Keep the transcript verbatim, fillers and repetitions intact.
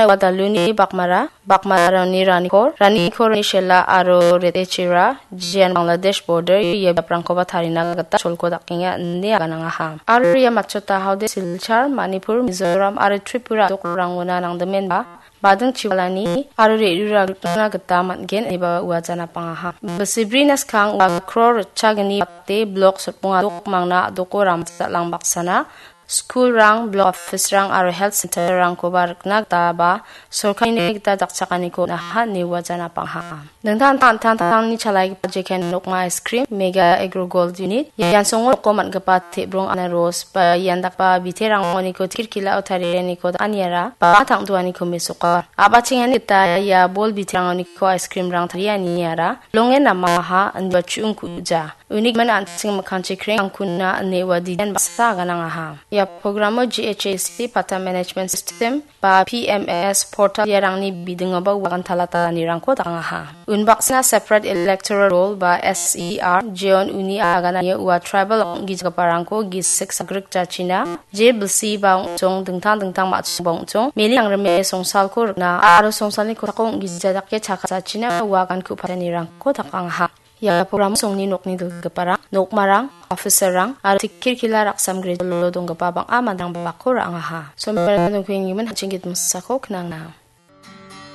Ua daluni bakmara, bakmarani ranikor, ranikorni shela aro retechira, Jian Bangladesh border ia biaprangkoba tarina gita cholko dakenga ine aganangaha. Aro ia matchota haode Silchar, Manipur, Mizoram aro Tripura dokrangona nangdimenba, bading chiwalani aro re·rura gitna gita man·gen ineba uajan apangaha. Bilsibrina skang ua kror ritchagni bate blok sotbonga dokmangna a·doko ramsa lang baksana, skulrang, blok office-rang aro health center-rangkoba rikna gita ba sorkarini gita dakchakaniko naha ine uajan apangaha. Dingtang dingtang an·tangtangni chalaigipa jekai nokma ice cream, Mega Agro Gold Unit, ian songo noko man·gipa te·brong anaros ba ian dakgipa biterangkoniko kirkilao tarianiko dakaniara ba tang·duaniko mesoka. A·bachengani gita ia bol biterangoniko ice cream-rang tarianiara longe namaha indiba chu·ungkuja. Uni gimin an·ching mikkangchi kreng angkuna ine ua diden baksa aganangaha. Ia programo G H A C Pata Management System ba P M S portal iarangni bidingoba uagan talatalanirangko dakangaha. Unbaksana separate electoral roll ba S E R, jeon uni agananio ua tribal ong·gijagiparangko gisik sagrik jachina, je bilsi ba ong·chong dingtang dingtang ma·chongba ong·chong, meli angrime songsalko rikna aro songsalni kosako ong·gija dake chakachachina uagan ku·patanirangko dakangaha. Ia programo songni nokni dilgiparang, nokmarang, officer-rang aro tikkil kila raksam grejolo donggipa bang·a manderangba bako ra·angaha. Somerang dongpenggimin an·ching gitmosako knangna.